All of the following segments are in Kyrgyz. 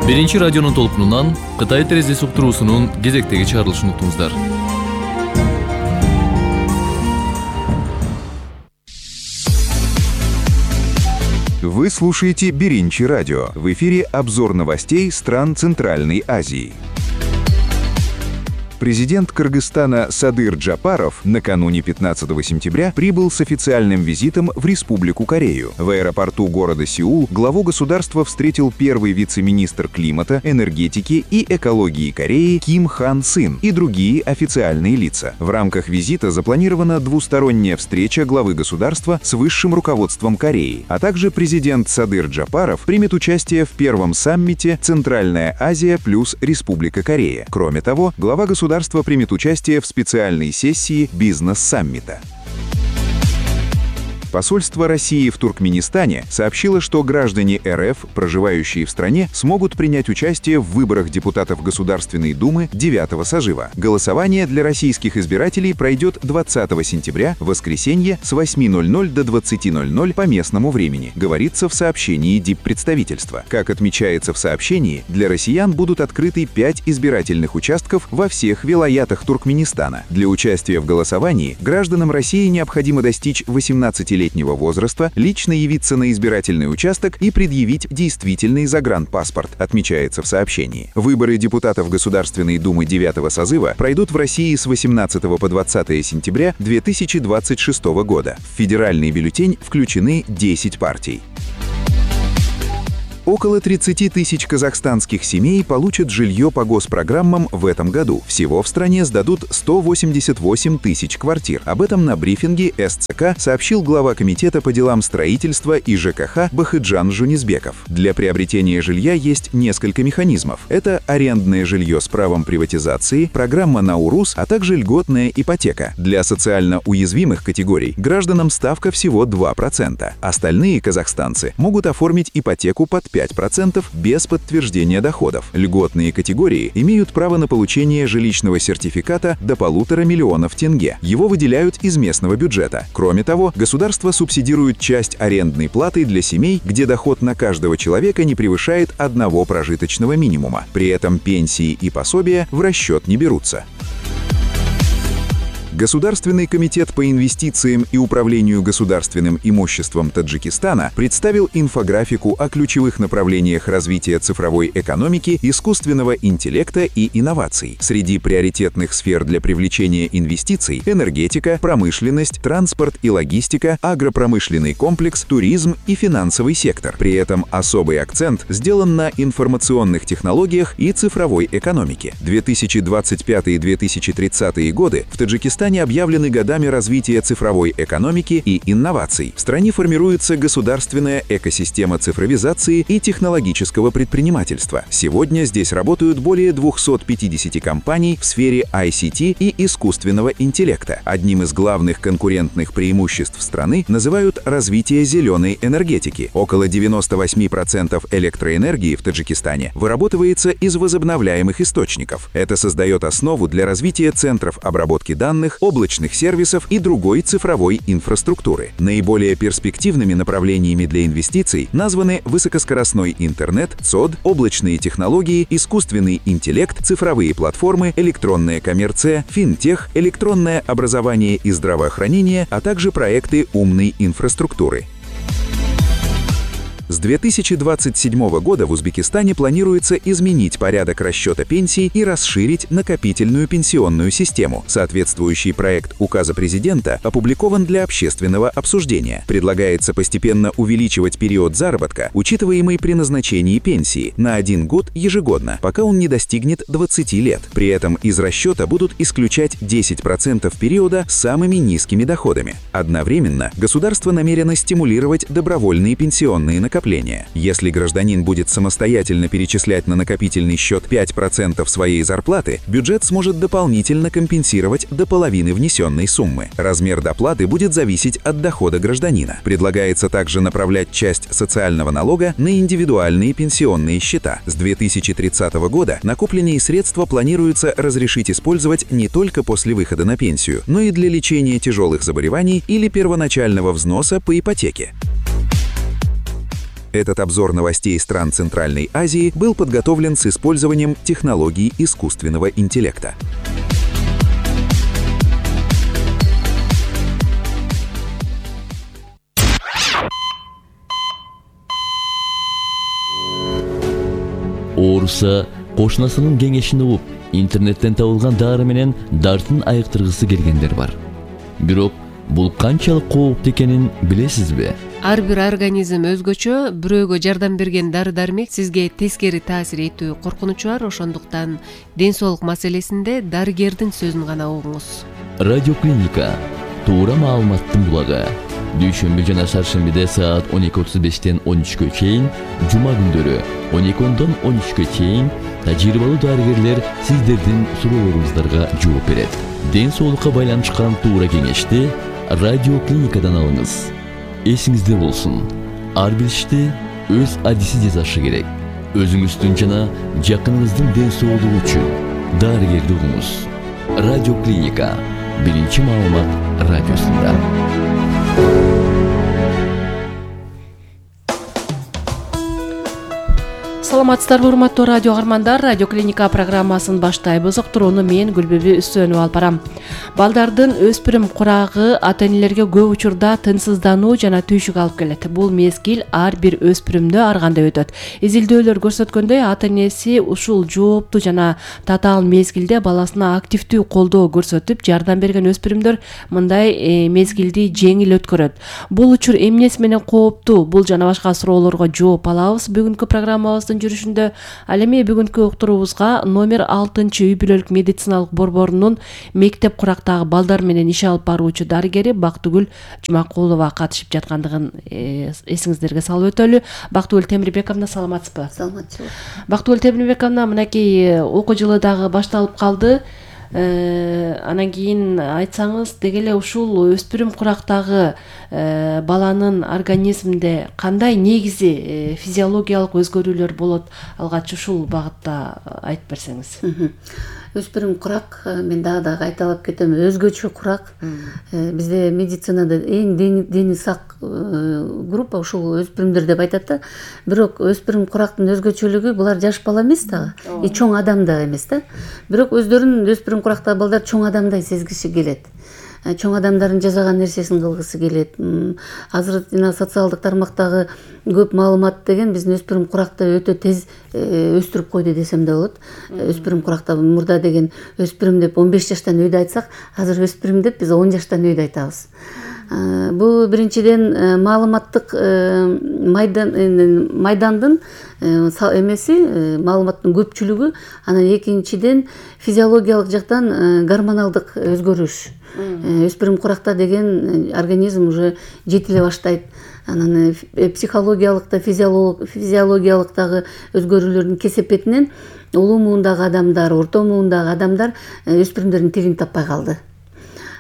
Биринчи радионун толкунунан Кытай терезеси уктуруусунун кезектеги чыгарылышын уктуңуздар. Вы слушаете Биринчи радио. В эфире обзор новостей стран Центральной Азии. Президент Кыргызстана Садыр Джапаров накануне 15 сентября прибыл с официальным визитом в Республику Корею. В аэропорту города Сеул главу государства встретил первый вице-министр климата, энергетики и экологии Кореи Ким Хан Син и другие официальные лица. В рамках визита запланирована двусторонняя встреча главы государства с высшим руководством Кореи, а также президент Садыр Джапаров примет участие в первом саммите «Центральная Азия плюс Республика Корея». Кроме того, глава государства примет участие в специальной сессии бизнес-саммита. Посольство России в Туркменистане сообщило, что граждане РФ, проживающие в стране, смогут принять участие в выборах депутатов Государственной Думы 9-го созыва. Голосование для российских избирателей пройдет 20 сентября, в воскресенье, с 8:00 до 20:00 по местному времени, говорится в сообщении диппредставительства. Как отмечается в сообщении, для россиян будут открыты 5 избирательных участков во всех вилаятах Туркменистана. Для участия в голосовании гражданам России необходимо достичь 18-летнего возраста, лично явиться на избирательный участок и предъявить действительный загранпаспорт, отмечается в сообщении. Выборы депутатов Государственной Думы 9-го созыва пройдут в России с 18 по 20 сентября 2026 года. В федеральный бюллетень включены 10 партий. Около 30 тысяч казахстанских семей получат жилье по госпрограммам в этом году. Всего в стране сдадут 188 тысяч квартир. Об этом на брифинге СЦК сообщил глава комитета по делам строительства и ЖКХ Бахыджан Жунисбеков. Для приобретения жилья есть несколько механизмов. Это арендное жилье с правом приватизации, программа Наурус, а также льготная ипотека. Для социально уязвимых категорий гражданам ставка всего 2%. Остальные казахстанцы могут оформить ипотеку под 5% без подтверждения доходов. Льготные категории имеют право на получение жилищного сертификата до 1,5 миллиона тенге. Его выделяют из местного бюджета. Кроме того, государство субсидирует часть арендной платы для семей, где доход на каждого человека не превышает 1 прожиточного минимума. При этом пенсии и пособия в расчет не берутся. Государственный комитет по инвестициям и управлению государственным имуществом Таджикистана представил инфографику о ключевых направлениях развития цифровой экономики, искусственного интеллекта и инноваций. Среди приоритетных сфер для привлечения инвестиций – энергетика, промышленность, транспорт и логистика, агропромышленный комплекс, туризм и финансовый сектор. При этом особый акцент сделан на информационных технологиях и цифровой экономике. 2025-2030 годы в Таджикистане объявлены годами развития цифровой экономики и инноваций. В стране формируется государственная экосистема цифровизации и технологического предпринимательства. Сегодня здесь работают более 250 компаний в сфере ICT и искусственного интеллекта. Одним из главных конкурентных преимуществ страны называют развитие зеленой энергетики. Около 98% электроэнергии в Таджикистане вырабатывается из возобновляемых источников. Это создает основу для развития центров обработки данных, облачных сервисов и другой цифровой инфраструктуры. Наиболее перспективными направлениями для инвестиций названы высокоскоростной интернет, ЦОД, облачные технологии, искусственный интеллект, цифровые платформы, электронная коммерция, финтех, электронное образование и здравоохранение, а также проекты умной инфраструктуры. С 2027 года в Узбекистане планируется изменить порядок расчета пенсий и расширить накопительную пенсионную систему. Соответствующий проект указа президента опубликован для общественного обсуждения. Предлагается постепенно увеличивать период заработка, учитываемый при назначении пенсии, на 1 год ежегодно, пока он не достигнет 20 лет. При этом из расчета будут исключать 10% периода с самыми низкими доходами. Одновременно государство намерено стимулировать добровольные пенсионные накопления. Если гражданин будет самостоятельно перечислять на накопительный счет 5% своей зарплаты, бюджет сможет дополнительно компенсировать до половины внесенной суммы. Размер доплаты будет зависеть от дохода гражданина. Предлагается также направлять часть социального налога на индивидуальные пенсионные счета. С 2030 года накопленные средства планируется разрешить использовать не только после выхода на пенсию, но и для лечения тяжелых заболеваний или первоначального взноса по ипотеке. Этот обзор новостей стран Центральной Азии был подготовлен с использованием технологий искусственного интеллекта. Ооруса кошунасынын кеңешин угуп, интернеттен табылган дары менен дартын айыктыргысы келгендер бар. Бирок бул канчалык кооптуу экенин билесизби? Ар бир организм өзгөчө, бирөөгө жардам берген дары-дармек сизге тескери таасир этүү коркунучу бар, ошондуктан ден соолук маселесинде дарыгердин сөзүн гана угуңуз. Радиоклиника туура маалыматтын булагы. Дүйшөмбү жана шаршембиде саат 12:35-тен 13-кө чейин, жума күндөрү 12-дон 13-кө чейин тажрыйбалуу дарыгерлер сиздердин суроолоруңуздарга жооп берет. Ден соолукка байланышкан туура кеңешти радиоклиникадан алыңыз. Эсиңизде болсун, ар бир ишти өз адиси жасашы керек. Өзүңүздүн жана жакыныңыздын ден соолугу үчүн дарыгерди угуңуз. Радиоклиника, биринчи маалымат радиосунда. Саламатсыздарбы, урматтуу радио каармандар. Радиоклиника программасын баштайбыз. Уктурууну мен Гүлбүбү Үстөнүп алып барам. Балдардын өспүрүм курагы ата-энелерге көп учурда тынчсыздануу жана түйшүк алып келет. Бул мезгил ар бир өспүрүмдө ар кандай өтөт. Изилдөөлөр көрсөткөндөй, ата-энеси ушул жооптуу жана татаал мезгилде баласына активдүү колдоо көрсөтүп, жардам берген өспүрүмдөр мындай мезгилди жеңил өткөрөт. Бул учур эмнеси менен кооптуу? Бул жана башка суроолорго жооп алабыз бүгүнкү программабыздын жүрүшүндө. Ал эми бүгүнкү уктуруубузга номер 6 үй бүлөлүк медициналык борборунун мектеп курактагы балдар менен иш алып баруучу дарыгери Бактыгүл Жумакулова катышып жаткандыгын эсиңиздерге салып өтөлү. Бактыгүл Темирбековна, саламатсызбы? Саламатчылык. Бактыгүл Темирбековна, мынакей окуу жылы дагы башталып калды. Анан кийин айтсаңыз, деги эле ушул өспүрүм курактагы баланын организминде кандай негизи физиологиялык өзгөрүүлөр болот? Алгач ушул багытта айтып берсеңиз. Өспүрүм курак, мен дагы кайталап кетем, өзгөчө курак. Бизде медицинада эң дени сак группа ушул өспүрүмдөр деп айтат да. Бирок өспүрүм курактын өзгөчөлүгү, булар жаш бала эмес дагы, чоң адам да эмес да. Бирок өздөрүн өспүрүм курактагы балдар чоң адамдай сезгиши келет. Чоң адамдардын жасаган нерсесин кылгысы келет. Азыр жана социалдык тармактагы көп маалымат деген биздин өспүрүм куракты өтө тез өстүрүп койду десем да болот. Өспүрүм куракта мурда деген өспүрүм деп 15 жаштан үйдө айтсак, азыр өспүрүм деп биз 10 жаштан үйдө айтабыз. Бул биринчиден маалыматтык майдандын эмеси, маалыматтын көпчүлүгү, анан экинчиден физиологиялык жактан гормоналдык өзгөрүш. Өспүрүм куракта деген организм уже жетиле баштайт. Анан психологиялык да, физиологиялык дагы өзгөрүүлөрдүн кесепетинен улуу муундагы адамдар, орто муундагы адамдар өспүрүмдөрдүн тилин таппай калды.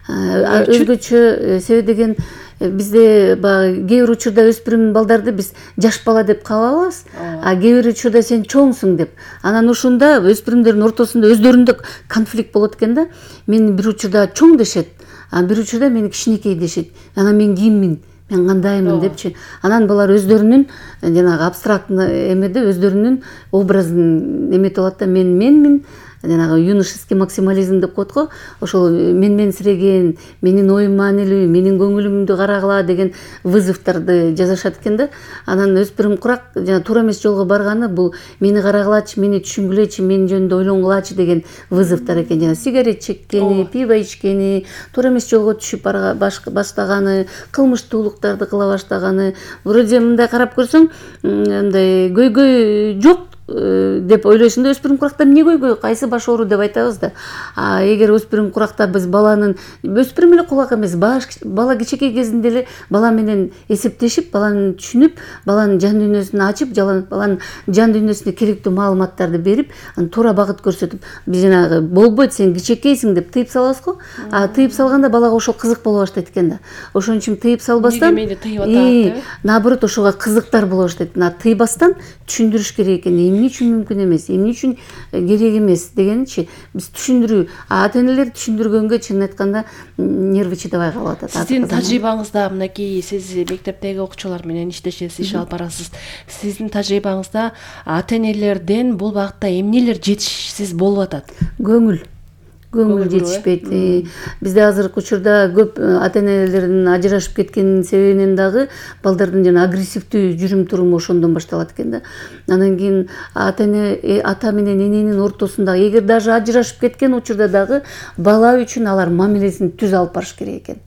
Өзгөчө себеби деген бизде кээ бир учурда өспүрүм балдарды биз жаш бала деп кабыл алабыз, а кээ бир учурда сен чоңсуң деп. Анан ушунда өспүрүмдөрдүн ортосунда өздөрүндө конфликт болот экен да. Мени бир учурда чоң дешет, а бир учурда мени кичинекей дешет. Анан мен киммин? Мен кандаймын депчи. Анан булар өздөрүнүн жанагы абстрактный эмеде өздөрүнүн образын эметип алат да, менмин, жанагы юношеский максимализм деп коет го. Ошол менсиреген, менин оюм маанилүү, менин көңүлүмдү карагыла деген вызовдарды жазышат экен да. Анан өспүрүм курак жана туура эмес жолго барганы бул мени карагылачы, мени түшүнгүлөчү, менин жөнүндө ойлонгулачы деген вызовдор экен. Жана сигарет чеккени, пиво ичкени, туура эмес жолго түшүп баштаганы, кылмыштуулуктарды кыла баштаганы. Вроде мындай карап көрсөң, мындай көйгөй жок деп ойлойсуң да, өспүрүм куракта эмне көйгөй, кайсы баш оору деп айтабыз да. Эгер өспүрүм куракта биз баланын, өспүрүм эле кулак эмес, бала кичинекей кезинде эле бала менен эсептешип, баланы түшүнүп, баланын жан дүйнөсүн ачып, баланын жан дүйнөсүнө керектүү маалыматтарды берип, аны туура багыт көрсөтүп, биз жанагы болбойт, сен кичинекейсиң деп тыйып салабыз го. Тыйып салганда балага ошол кызык боло баштайт экен да. Ошон үчүн тыйып салбастан, мени тыйып атат деп, наоборот ошого кызыктар боло баштайт. Тыйбастан түшүндүрүш керек экен. эмне үчүн мүмкүн эмес, эмне үчүн керек эмес дегенчи биз түшүндүрүү, ата энелер түшүндүргөнгө чынын айтканда нервы чыдабай калып атат. Сиздин тажрыйбаңызда мынакей сиз мектептеги окуучулар менен иштешесиз, иш алып барасыз. Сиздин тажрыйбаңызда ата энелерден бул багытта эмнелер жетишсиз болуп атат? Көңүл жетишпейт. Бизде азыркы учурда көп ата энелердин ажырашып кеткенин себебинен дагы балдардын жана агрессивдүү жүрүм туруму ошондон башталат экен да. Анан кийин ата менен эненин ортосунда эгер даже ажырашып кеткен учурда дагы бала үчүн алар мамилесин түз алып барыш керек экен.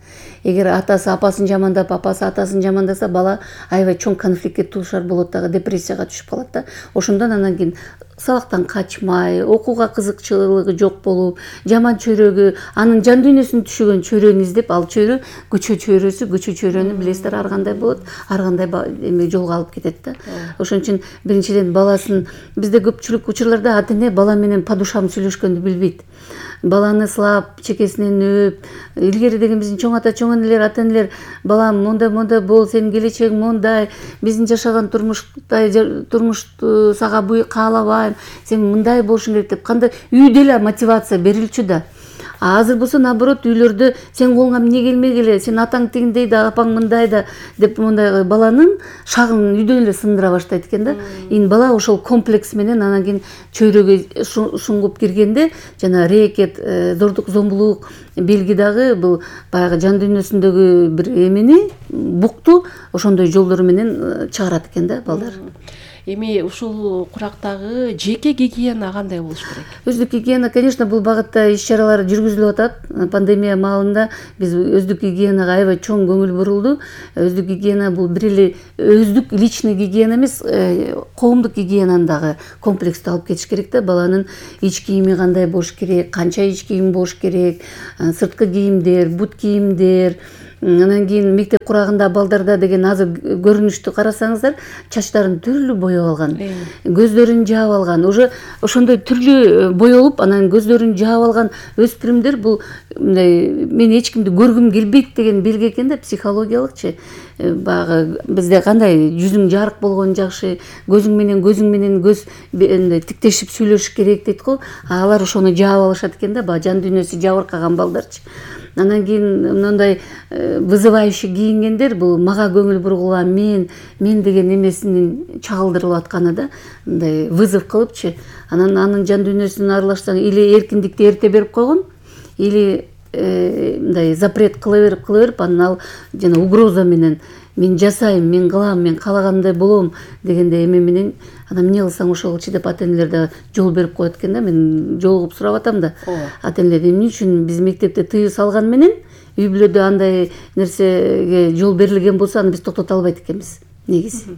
Эгер атасы апасын жамандап, апасы атасын жамандаса, бала аябай чоң конфликтке туушар болот дагы, депрессияга түшүп калат да. Ошондон анан кийин сабактан качмай, окууга кызыкчылыгы жок болуп, жаман чөйрөгү, анын жан дүйнөсүн түшүгөн чөйрөнү издеп, ал чөйрө көчө чөйрөнү билесиздер ар кандай болот, ар кандай жолго алып кетет да. Ошон үчүн биринчиден баласын, бизде көпчүлүк учурларда ата эне бала менен по душам сүйлөшкөндү билбейт. Баланы сылап, чекесинен өп, илгери деген биздин чоң ата, чоң энелер, ата энелер, балам мондай бол, сенин келечегиң мондай, биздин жашаган турмушту сага каалабайм, сен мындай болушуң керек деп кандай үйдө эле мотивация берилчү да. Азыр болсо наоборот үйлөрдө сен колуңа эмне келмек эле, сен атаң тигиндей да, апаң мындай да деп мондай баланын шагын үйдөн эле сындыра баштайт экен да. Бала ошол комплекс менен анан кийин чөйрөгө шуңгуп киргенде жана рэкет, зордук зомбулук белги дагы бул баягы жан дүйнөсүндөгү бир эмени, букту ошондой жолдору менен чыгарат экен да балдар. Эми ушул курактагы жеке гигиена кандай болуш керек? Өздүк гигиена, конечно, бул багытта иш-чаралар жүргүзүлүп атат. Пандемия маалында биз өздүк гигиенага аябай чоң көңүл бурулду. Өздүк гигиена бул бир эле өздүк личный гигиена эмес, коомдук гигиенаны дагы комплекстүү алып кетиш керек да. Баланын ич кийими кандай болуш керек, канча ич кийим болуш керек, сырткы кийимдер, бут кийимдер. Анан кийин мектеп курагында балдарда деген азыр көрүнүштү карасаңыздар, чачтарын түрлүү боеп алган, көздөрүн жаап алган, уже ошондой түрлүү боелуп, анан көздөрүн жаап алган өспүрүмдөр бул мен эч кимди көргүм келбейт деген белги экен да, психологиялыкчы. Баягы бизде кандай жүзүң жарык болгон жакшы, көзүң менен көз тиктешип сүйлөшүш керек дейт го. Алар ошону жаап алышат экен да, баягы жан дүйнөсү жабыркаган балдарчы. Анан кийин мындай вызывающий кийингендер бул мага көңүл бургула, мен деген эмесинин чагылдырылып атканы да, мындай вызов кылыпчы. Анын жан дүйнөсүн аралашсаң, или эркиндикти эрте берип койгон, или мындай запрет кыла берип, анан ал жана угроза менен мен жасайм, мен кылам, мен каалагандай болом дегенде эме менен анан эмне кылсаң ошого чыдап ата энелер да жол берип коет экен да. Мен жолугуп сурап атам да. Ата энелер эмне үчүн биз мектепте тыюу салган менен үй бүлөдө андай нерсеге жол берилген болсо аны биз токтото албайт экенбиз. Негизи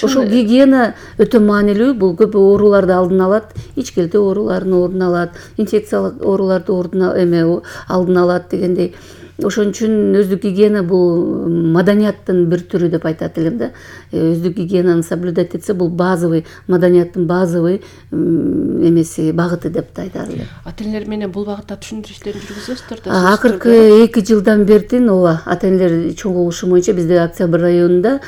ошол гигиена өтө маанилүү. Бул көп ооруларды алдын алат, ичкилтүү ооруларын ордун алат, инфекциялык ооруларды алдын алат дегендей. Ошон үчүн өздүк гигиена бул маданияттын бир түрү деп айтат элем да. Өздүк гигиенаны соблюдать этсе, бул базовый маданияттын базовый эмеси, багыты деп айтар элем. Ата энелер менен бул багытта түшүндүрүү иштерин жүргүзөсүздөр да? Акыркы 2 жылдан бертин ооба, ата энелер чогулушу боюнча бизде Октябрь районунда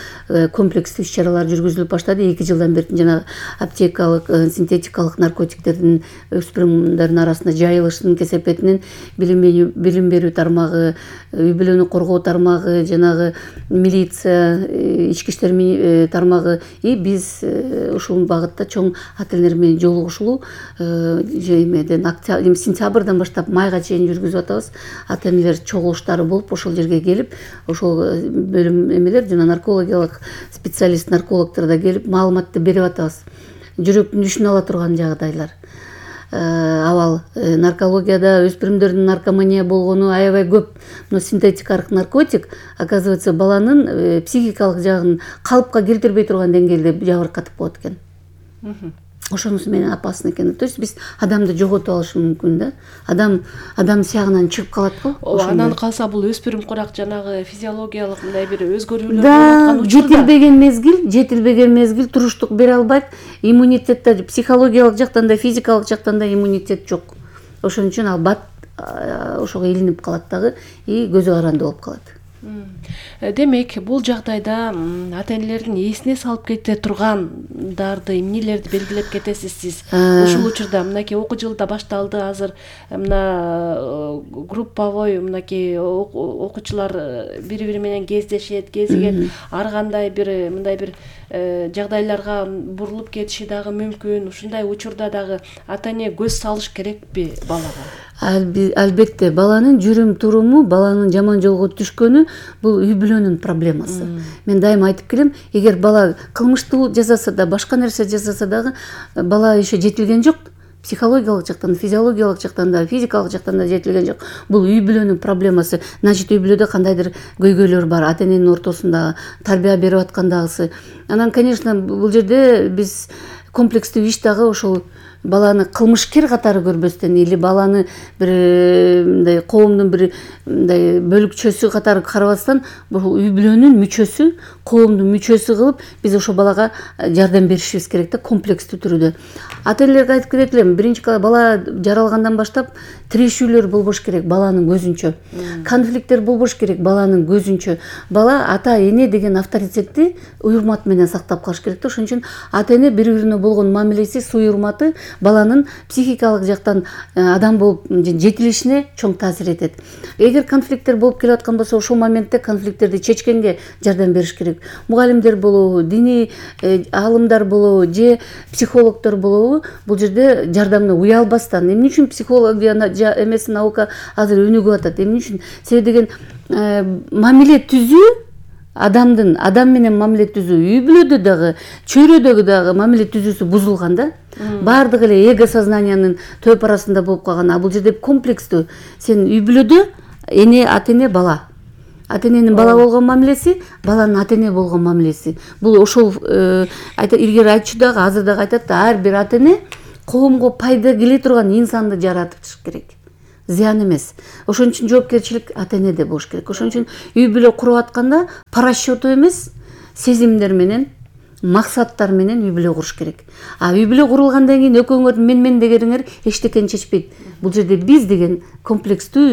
комплекстүү иш-чаралар жүргүзүлүп баштады. 2 жылдан бертин жана аптекалык, синтетикалык наркотиктердин өспүрүмдөрдүн арасында жайылышынын кесепетинен билим берүү тармагы, үй бүлөнү коргоо тармагы, жанагы милиция, ички иштер тармагы, биз ушул багытта чоң ата энелер менен жолугушуу сентябрдан баштап майга чейин жүргүзүп атабыз. Ата энелер чогулуштары болуп, ошол жерге келип, ошол бөлүм эмелер жана наркологиялык специалист наркологдор да келип маалыматты берип атабыз. Жүрөктүн дүшүн ала турган жагдайлар. Абал наркологияда өспүрүмдөрдүн наркомания болгону аябай көп. Но синтетикалык наркотик, оказывается, баланын психикалык жагын калыпка келтирбей турган деңгээлде жабыркатып коет экен. Ошонусу менен опасно экен. То есть биз адамды жоготуп алышы мүмкүн да. Адам сягынан чыгып калат го. Анан калса бул өспүрүм курак жанагы физиологиялык мындай бир өзгөрүүлөр болуп аткан учурда жетилбеген мезгил туруштук бере албайт. Иммунитет да психологиялык жактан да физикалык жактан да иммунитет жок. Ошон үчүн ал бат ошого илинип калат дагы и көзү каранды болуп калат. Демек, бул жагдайда ата энелердин эсине салып кете тургандарды, эмнелерди белгилеп кетесиз сиз? Ушул учурда мынакей окуу жылы да башталды, азыр мына групповой мынакей окуучулар бири-бири менен кездешет, кезигет, ар кандай бир мындай бир жагдайларга бурулуп кетиши дагы мүмкүн. Ушундай учурда дагы ата эне көз салыш керекпи балага? Албетте, баланын жүрүм туруму, баланын жаман жолго түшкөнү бул үй бүлөнүн проблемасы. Мен дайыма айтып келем, эгер бала кылмыштуу жасаса да, башка нерсе жасаса дагы, бала еще жетилген жок. Психологиялык жактан, физиологиялык жактан да, физикалык жактан да жетилген жок. Бул үй бүлөнүн проблемасы. Значит, үй бүлөдө кандайдыр көйгөйлөр бар, ата эненин ортосунда тарбия берип аткандагысы. Анан, конечно, бул жерде биз комплекстүү иш дагы ошол баланы кылмышкер катары көрбөстөн или баланы бир мындай коомдун бир мындай бөлүкчөсү катары карабастан, бул үй бүлөнүн мүчөсү, коомдун мүчөсү кылып биз ошо балага жардам беришибиз керек да, комплекстүү түрдө. Ата энелерге айтып кетет элем, биринчи бала жаралгандан баштап тирешүүлөр болбош керек баланын көзүнчө. Конфликттер болбош керек баланын көзүнчө. Бала ата эне деген авторитетти урмат менен сактап калыш керек да. Ошон үчүн ата эне бири-бирине болгон мамилеси, суй урматы баланын психикалык жактан адам болуп жетилишине чоң таасир этет. Эгер конфликттер болуп келе аткан болсо, ошол моментте конфликттерди чечкенге жардам бериш керек. Мугалимдер болобу, диний аалымдар болобу, же психологдор болобу, бул жерде жардамына уялбастан. Эмне үчүн психология эмеси, наука азыр өнүгүп атат? Эмне үчүн? Себеби деген мамиле түзүү, адам менен мамиле түзүү, үй бүлөдө дагы, чөйрөдөгү дагы мамиле түзүүсү бузулган да. Бардыгы эле эго сознаниянын төп арасында болуп калган. А бул жерде комплекстүү. Сен үй бүлөдө ата эне, бала. Ата эненин бала болгон мамилеси, баланын ата эне болгон мамилеси. Бул ошол илгери айтчу дагы, азыр дагы айтат да, ар бир ата эне коомго пайда келе турган инсанды жаратыш керек. Зыян эмес. Ошон үчүн жоопкерчилик ата энеде болуш керек. Ошон үчүн үй бүлө куруп атканда по расчету эмес, сезимдер менен, максаттар менен үй бүлө куруш керек. А үй бүлө курулгандан кийин экөөңөрдүн мен дегениңер эчтекени чечпейт. Бул жерде биз деген комплекстүү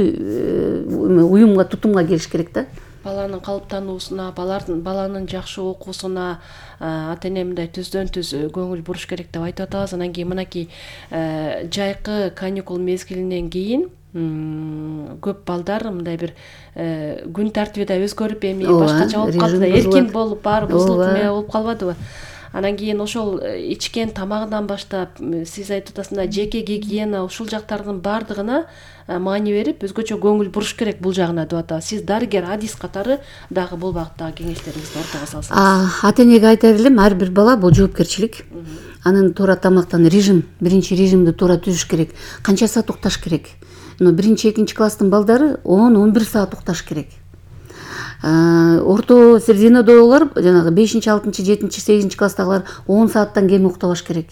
уюмга, тутумга келиш керек да. Баланын калыптануусуна, баланын жакшы окуусуна ата эне мындай түздөн-түз көңүл буруш керек деп айтып атабыз. Анан кийин мынакей жайкы каникул мезгилинен кийин көп балдар мындай бир күн тартиби да өзгөрүп, эми башкача болуп калды да, эркин болуп, баары бузулуп болуп калбадыбы? Анан кийин ошол ичкен тамагынан баштап, сиз айтып атасыздар, жеке гигиена, ушул жактардын баардыгына маани берип, өзгөчө көңүл буруш керек бул жагына деп атабыз. Сиз дарыгер, адис катары дагы бул багыттагы кеңештериңизди ортого салсаңыз. Ата энеге айтар элем, ар бир бала бул жоопкерчилик. Анын туура тамактан биринчи режимди туура түзүш керек. Канча саат укташ керек? Биринчи, экинчи класстын балдары 10-11 саат укташ керек. Орто серединадагылар, жанагы 5-6, 7-8 класстагылар 10 сааттан кем уктабаш керек.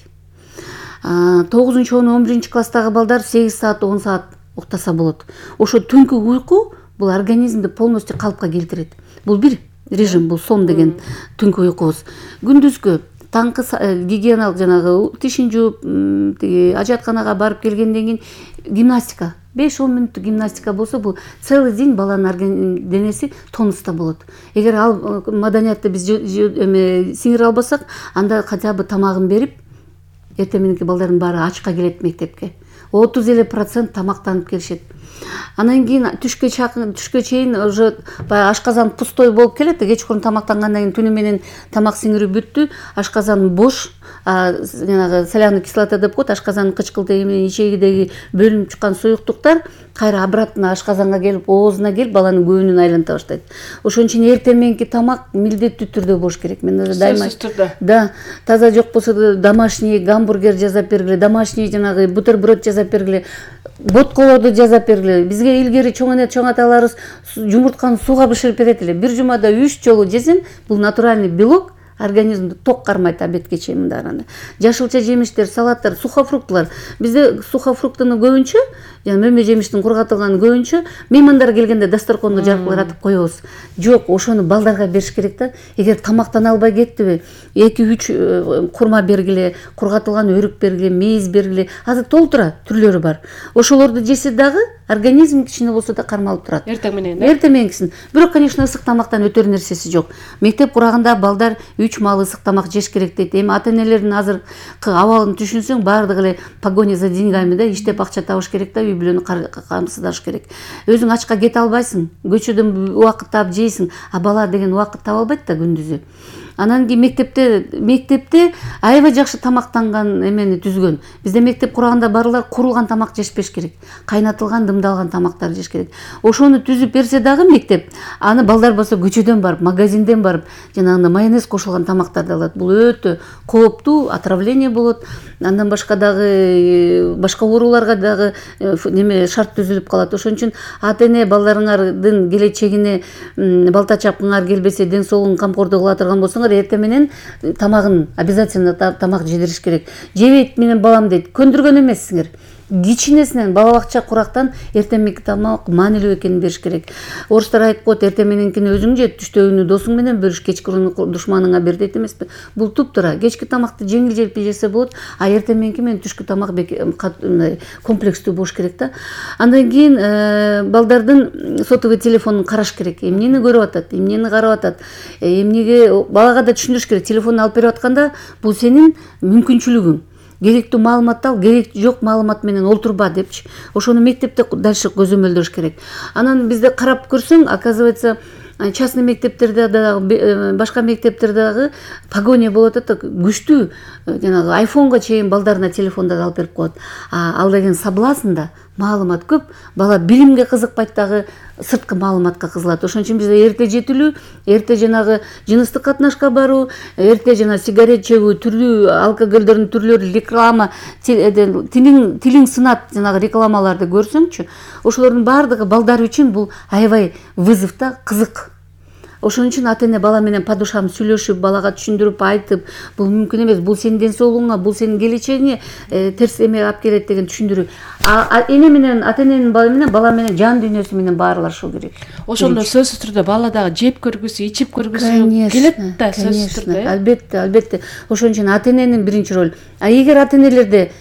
9-11 класстагы балдар 8 саат, 10 саат уктаса болот. Ошо түнкү уйку бул организмди полностью калыпка келтирет. Бул бир режим, бул сон деген түнкү уйкубуз. Күндүзгү таңкы гигиеналык жанагы тишин жууп, ажатканага барып келгенден кийин гимнастика, 5-10 мүнөттүк гимнастика болсо, бул целый день баланын денеси тонуста болот. Эгер ал маданиятты биз сиңире албасак, анда хотя бы тамагын берип, эртең мененки балдардын баары ачка келет мектепке. 30% тамактанып келишет. Анан кийин түшкө чейин уже ашказан пустой болуп келет. Кечкурун тамактангандан кийин түнү менен тамак сиңирип бүттү, ашказан бош, жанагы соляный кислота деп коет, ашказандын кычкылтыгы менен ичегидеги бөлүнүп чыккан суюктуктар кайра обратно ашказанга келип, оозуна келип, баланын көбүнүн айланта баштайт. Ошон үчүн эртең мененки тамак милдеттүү түрдө болуш керек. Мен дайыма да, таза жок болсо домашний гамбургер жасап бергиле, домашний жанагы бутерброд жасап бергиле, ботколорду жасап бергиле. Бизге илгери чоң аталарыбыз жумуртканы сууга бышырып берет эле. Бир жумада 3 жолу жесең, бул натуральный белок организмди ток кармайт обедке чейин мындай. Жашылча жемиштер, салаттар, сухофруктылар. Бизде сухофруктуну көбүнчө, мөмө жемиштин кургатылганын көбүнчө меймандар келгенде дасторконду жаркыратып коебуз. Жок, ошону балдарга бериш керек да. Эгер тамактана албай кеттиби, 2-3 курма бергиле, кургатылган өрүк бергиле, мейиз бергиле. Азыр толтура түрлөрү бар. Ошолорду жесе дагы организм кичине болсо да кармалып турат. Эртең менен. Эртең мененкисин. Бирок, конечно, ысык тамактан өтөр нерсеси жок. Мектеп кураганда балдар 3 маал ысык тамак жеш керек дейт. Эми ата-энелердин азыркы абалын түшүнсөң, баардыгы эле погоня за деньгами да, иштеп акча табыш керек да, үй бүлөнү камсыздаш керек. Өзүң ачка кете албайсың, көчөдөн убакыт таап жейсиң, а бала деген убакыт таба албайт да күндүзү. Анан кийин мектепте аябай жакшы тамактанган эмени түзгөн. Бизде мектеп курганда барлар курулган тамак жешпеш керек. Кайнатылган, дымдалган тамактар жеш керек. Ошону түзүп берсе дагы мектеп, аны балдар болсо көчөдөн барып, магазинден барып, жанагындай майонез кошулган тамактарды алат. Бул өтө кооптуу, отравление болот. Андан башка дагы башка ооруларга дагы шарт түзүлүп калат. Ошон үчүн ата-эне балдарыңардын келечегине балта чапкыңар келбесе, ден соолугун камкордук кыла турган болсоңор, эртең менен тамагын обязательно тамак жедириш керек. Жебейт менен балам дейт. Көндүргөн эмессиңер. Кичинесинен бала бакча курактан эртең мененки тамак маанилүү экенин бериш керек. Орустар айтып коет, эртең мененкини өзүң же, түштөгүнү досуң менен бөлүш, кечкурууну душманыңа бер дейт эмеспи? Бул туптура. Кечки тамакты жеңил-желпи жесе болот, а эртең мененки менен түшкү тамак комплекстүү болуш керек да. Андан кийин балдардын сотовый телефонун караш керек. Эмнени көрүп атат, эмнени карап атат, эмнеге балага да түшүндүрүш керек. Телефонду алып берип атканда бул сенин мүмкүнчүлүгүң. Керектүү маалыматты ал, керек жок маалымат менен олтурба депчи. Ошону мектепте дальше көзөмөлдөш керек. Анан бизде карап көрсөң, оказывается, частный мектептерде дагы, башка мектептерде дагы погоня болот да, күчтүү, жанагы айфонго чейин балдарына телефондорду алып берип коет. Ал деген соблазнда маалымат көп, бала билимге кызыкпайт дагы, сырткы маалыматка кызылат. Ошон үчүн бизде эрте жетилүү, эрте жанагы жыныстык катнашка баруу, эрте жана сигарет чегүү, түрлүү алкоголдордун түрлөрү, реклама, тилиң сынат жанагы рекламаларды көрсөңчү, ошолордун баардыгы балдар үчүн бул аябай вызов да, кызык. Ошон үчүн ата-эне бала менен по душам сүйлөшүп, балага түшүндүрүп айтып, бул мүмкүн эмес, бул сенин ден соолугуңа, бул сенин келечегиңе терс эме алып келет деген түшүндүрүү. Эне менен, ата-эненин бала менен жан дүйнөсү менен баарылашуу керек. Ошондо сөзсүз түрдө бала дагы жеп көргүсү, ичип көргүсү келет да, сөзсүз түрдө. Албетте. Ошон үчүн ата-эненин биринчи ролу. Эгер ата-энелерде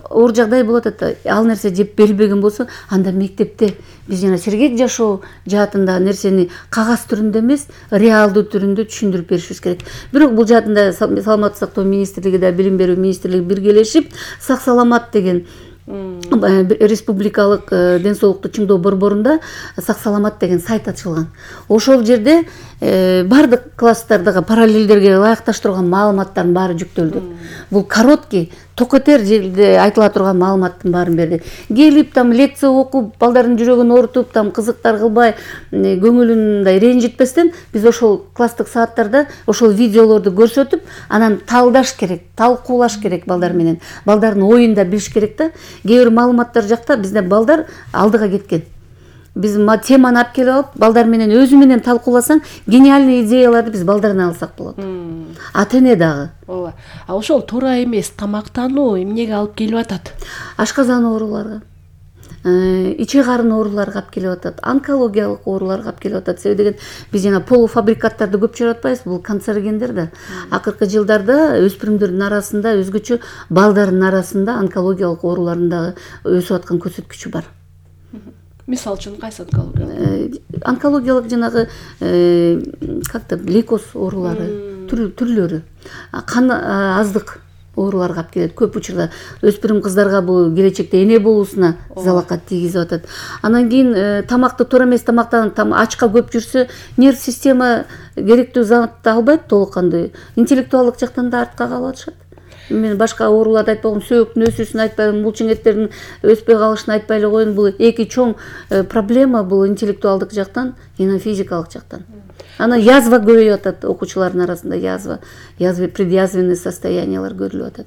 оор жагдай болот атат, ал нерсе жеп берилбеген болсо, анда мектепте биз жана сергек жашоо жаатында нерсени кагаз түрүндө эмес, реалдуу түрүндө түшүндүрүп беришибиз керек. Бирок бул жаатында саламаттык сактоо министрлиги да, билим берүү министрлиги биргелешип, сак саламат деген республикалык ден соолукту чыңдоо борборунда сак саламат деген сайт ачылган. Ошол жерде бардык класстардагы параллелдерге ылайыкташтырылган маалыматтардын баары жүктөлдү. Бул короткий, токотер жерде айтыла турган маалыматтын баарын берди. Келип там лекция окуп, балдардын жүрөгүн оорутуп, там кызыктар кылбай, көңүлүн мындай ренжитпестен, биз ошол класстык сааттарда ошол видеолорду көрсөтүп, анан талдаш керек, талкуулаш керек балдар менен. Балдардын оюн да билиш керек да. Кээ бир маалыматтар жакта бизде балдар алдыга кеткен. Биз теманы алып келип алып, балдар менен өзү менен талкууласаң, гениальный идеяларды биз балдардан алсак болот. Ата-эне дагы. Ооба. А ошол туура эмес тамактануу эмнеге алып келип атат? Ашказан ооруларга, иче карын ооруларга алып келип атат, онкологиялык ооруларга алып келип атат. Себеби деген биз жана полуфабрикаттарды көп чыгарып атпайбыз, бул канцерогендер да. Акыркы жылдарда өспүрүмдөрдүн арасында, өзгөчө балдардын арасында онкологиялык оорулардын дагы өсүп аткан көрсөткүчү бар. Мисалы үчүн кайсы онкологиялык? Онкологиялык жанагы как-то лейкоз оорулары, түрлөрү, кан аздык ооруларга алып келет. Көп учурда өспүрүм кыздарга бул келечекте эне болуусуна залакат тийгизип атат. Анан кийин тамакты туура эмес тамактанып, ачка көп жүрсө, нерв система керектүү затты албайт толук кандуу. Интеллектуалдык жактан да артка калып атышат. Мен башка ооруларды айтпай коеюн, сөөктүн өсүүсүн айтпайм, булчуңеттердин өспөй калышын айтпай эле коеюн. Бул эки чоң проблема, бул интеллектуалдык жактан, жана физикалык жактан. Анан язва көбөйүп атат окуучулардын арасында, язва, предъязвенный состояниялар көрүлүп атат.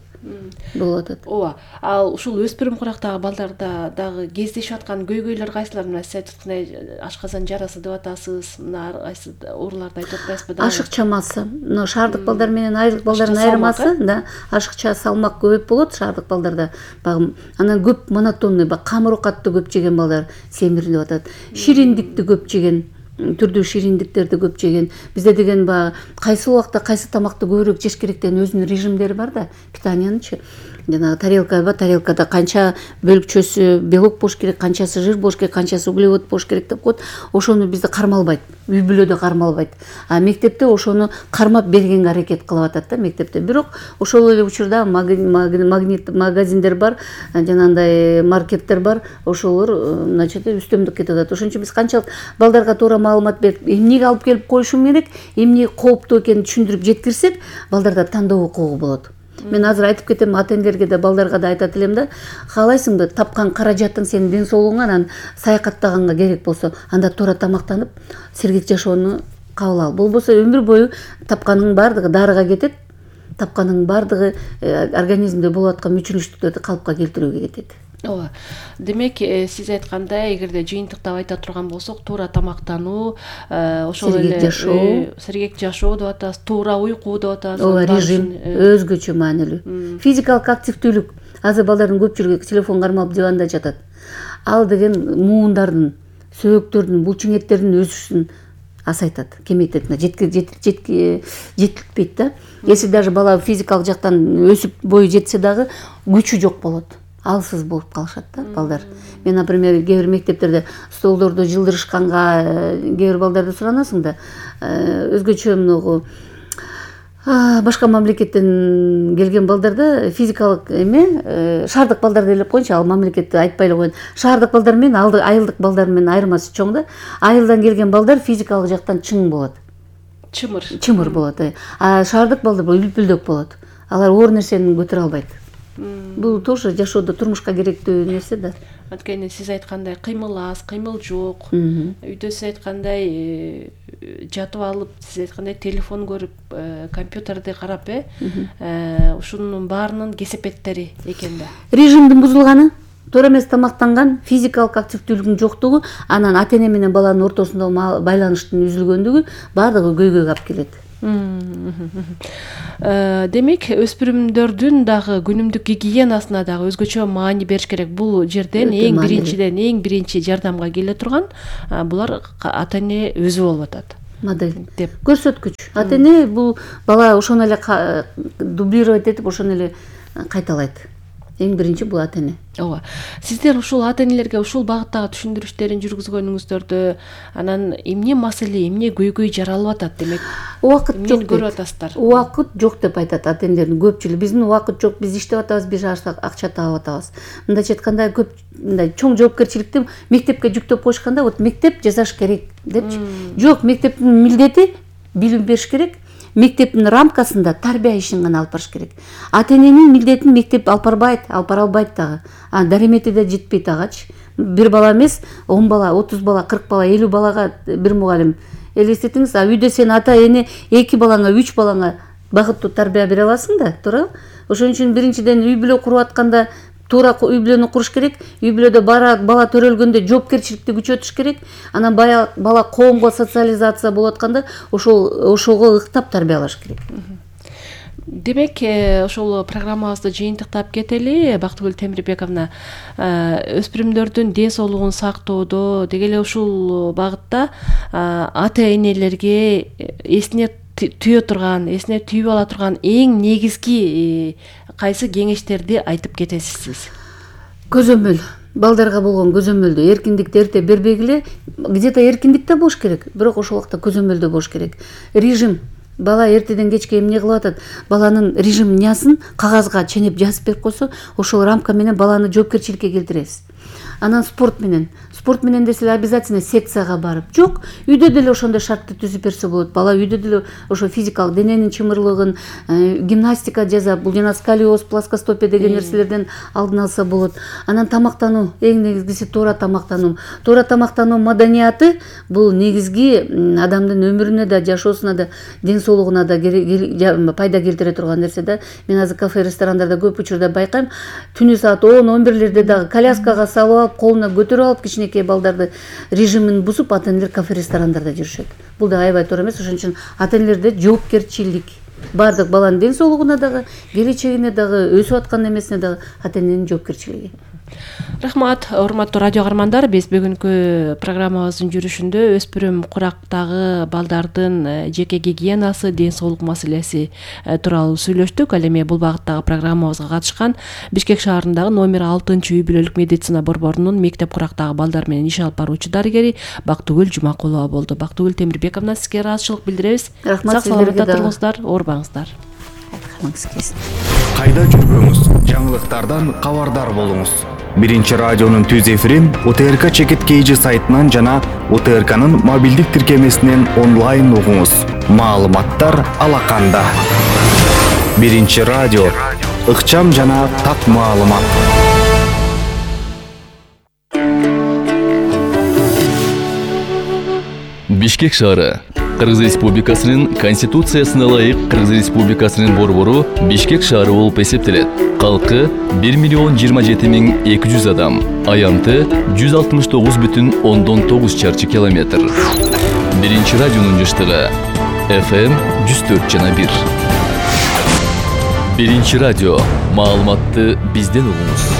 болуп атат. ооба. Ал ушул өспүрүм курактагы балдарда дагы кездешип аткан көйгөйлөр кайсылар? Мына сиз айткандай ашказан жарасы деп атасыз, мына кайсы ооруларды айтып атпайсызбы дагы? Ашыкча масса. Мына шаардык балдар менен айрылык балдардын айырмасы, да, ашыкча салмак көп болот шаардык балдарда. Багы анан көп монотонный, камыр оокатты көп жеген балдар семир деп атат. Шириндикти көп жеген, түрдүү шириндиктерди көп жеген. Бизде деген баягы кайсы убакта кайсы тамакты көбүрөөк жеш керек деген өзүнүн режимдери бар да, питаниянычы. Жанагы тарелкада канча бөлүкчөсү белок болуш керек, канчасы жир болуш керек, канчасы углевод болуш керек деп коет. Ошону бизде кармалбайт. Үй бүлөдө кармалбайт. А мектепте ошону кармап бергенге аракет кылып атат да мектепте. Бирок ошол эле учурда магнит магазиндер бар, жанагындай маркеттер бар. Ошолор значит үстөмдүк кетип атат. Ошон үчүн биз канчалык балдарга туура маалымат берип, эмнеге алып келип коюшум керек, эмне кооптуу экенин түшүндүрүп жеткирсек, балдарда тандоо укугу болот. Мен азыр айтып кетем, ата-энелерге да балдарга да айтат элем да, каалайсыңбы тапкан каражатың сенин ден соолугуңа, анан саякаттаганга керек болсо, анда туура тамактанып, сергек жашоону кабыл ал. Болбосо өмүр бою тапканыңдын баардыгы дарыга кетет, тапканыңдын баардыгы организмде болуп аткан мүчүлүштүктөрдү калыпка келтирүүгө кетет. Ооба. Демек, сиз айткандай, эгерде жыйынтыктап айта турган болсок, туура тамактануу, ошол эле сергек жашоо деп атабыз, туура уйку деп атабыз. Ооба, режим өзгөчө маанилүү. Физикалык активдүүлүк. Азыр балдардын көпчүлүгү телефон кармап диванда жатат. Ал деген муундардын, сөөктөрдүн, булчуң эттердин өсүшүн асайтат, кемейтет, жетилтпейт да. Если даже бала физикалык жактан өсүп бою жетсе дагы күчү жок болот. Алсыз болуп калышат да балдар. Мен, например, кээ бир мектептерде столдорду жылдырышканга кээ бир балдарды суранасың да, өзгөчө мынагу башка мамлекеттен келген балдарда физикалык шаардык балдарды элеп коеюнчу, ал мамлекетти айтпай эле коеюн. Шаардык балдар менен айылдык балдар менен айырмасы чоң да. Айылдан келген балдар физикалык жактан чың болот. Чымыр болот. А шаардык балдар үлпүлдөк болот. Алар оор нерсени көтөрө албайт. Бул тоже жашоодо турмушка керектүү нерсе да. Анткени сиз айткандай кыймыл аз, кыймыл жок. Үйдө сиз айткандай жатып алып, сиз айткандай телефон көрүп, компьютерди карап, ушунун баарынын кесепеттери экен да. Режимдин бузулганы, туура эмес тамактанган, физикалык активдүүлүктүн жоктугу, анан ата-эне менен баланын ортосунда байланыштын үзүлгөндүгү баардыгы көйгөйгө алып келет. Демек, өспүрүмдөрдүн дагы күнүмдүк гигиенасына дагы өзгөчө маани бериш керек. Бул жерден эң биринчи жардамга келе турган булар ата-эне өзү болуп атат. Модель деп көрсөткүч. Ата-эне бул бала ошону эле дублировать этип, ошону эле кайталайт. Эң биринчи бул ата-эне. Ооба. Сиздер ушул ата-энелерге ушул багыттагы түшүндүрүштөрүн жүргүзгөнүңүздөрдө анан эмне маселе, эмне көйгөй жаралып атат, демек? Убакыт жок көрүп атасыздар. Убакыт жок деп айтат ата-энелердин көпчүлүгү. Биздин убакыт жок, биз иштеп атабыз, биз акча таап атабыз. Мындайча айтканда, көп мындай чоң жоопкерчиликти мектепке жүктөп коюшканда, вот мектеп жасаш керек депчи. Жок, мектептин милдети билим бериш керек. Мектептин рамкасында тарбия ишин гана алып барыш керек. Ата-эненин милдетин мектеп алып бара албайт дагы. Даремети да жетпейт агачы. Бир бала эмес, 10 бала, 30 бала, 40 бала, 50 балага бир мугалим. Элестетиңиз, үйдө сен ата-эне 2 балаңа, 3 балаңа багыттуу тарбия бере аласың да, туура? Ошон үчүн биринчиден үй бүлө куруп атканда туура үй бүлөнү куруш керек. Үй бүлөдө бала төрөлгөндө жоопкерчиликти күчөтүш керек. Анан бала коомго социализация болуп атканда ошого ыктап тарбиялаш керек. Демек, ошол программабызды жыйынтыктап кетели. Бактыгүл Темирбековна, өспүрүмдөрдүн ден соолугун сактоодо деги эле ушул багытта ата-энелерге эсине түйө турган, эсине түйүп ала турган эң негизги кайсы кеңештерди айтып кетесиз сиз? Көзөмөл. Балдарга болгон көзөмөлдү, эркиндикти эрте бербегиле, где-то эркиндик да болуш керек, бирок ошол убакта көзөмөлдө болуш керек. Режим. Бала эртеден кечке эмне кылып атат? Баланын режим нясын кагазга ченеп жазып берип койсо, ошол рамка менен баланы жоопкерчиликке келтиресиз. Анан спорт менен. спорт менен деле обязательно секцияга барып, жок, үйдө деле ошондой шартты түзүп берсе болот. Бала үйдө деле ошо физикалык дененин чымырлыгын, гимнастика жасап, бул жана сколиоз, плоскостопия деген нерселерден алдын алса болот. Анан тамактануу, эң негизгиси туура тамактануу. Туура тамактануу маданияты бул негизги адамдын өмүрүнө да, жашоосуна да, ден соолугуна да пайда келтире турган нерсе да. Мен азыр кафе, ресторандарда көп учурда байкайм, түнү саат 10-11 дагы коляскага салып алып, колуна көтөрүп алып кичинекей балдарды режимин бузуп, ата-энелер кафе, ресторандарда жүрүшөт. Бул да аябай туура эмес. Ошон үчүн ата-энелерде жоопкерчилик, баардык баланын ден соолугуна дагы, келечегине дагы, өсүп аткан эмесине дагы ата-эненин жоопкерчилиги. Рахмат, урматтуу радио каармандар. Биз бүгүнкү программабыздын жүрүшүндө өспүрүм курактагы балдардын жеке гигиенасы, ден соолук маселеси тууралуу сүйлөштүк. Ал эми бул багыттагы программабызга катышкан Бишкек шаарындагы номер 6-үй бүлөлүк медицина борборунун мектеп курактагы балдар менен иш алып баруучу дарыгери Бактыгүл Жумакулова болду. Бактыгүл Темирбековна, сизге ыраазычылык билдиребиз. Рахмат, сак-саламатта туруңуздар, оорубаңыздар. Кайда жүрбөңүз, жаңылыктардан кабардар болуңуз. Биринчи радионун түз эфирин УТРК Чекит KG сайтынан жана УТРКнын мобилдик тиркемесинен онлайн угуңуз. Маалыматтар алаканда. Биринчи радио, ыкчам жана так маалымат. Бишкек шаары Кыргыз Республикасынын Конституциясына ылайык Кыргыз Республикасынын борбору Бишкек шаары болуп эсептелет. Калкы 1,27,200 адам, аянты 169,9 чарчы километр. Биринчи радионун жыштыгы FM 104,1. Биринчи радио, маалыматты бизден угуңуз.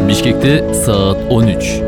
Бишкекте саат 13.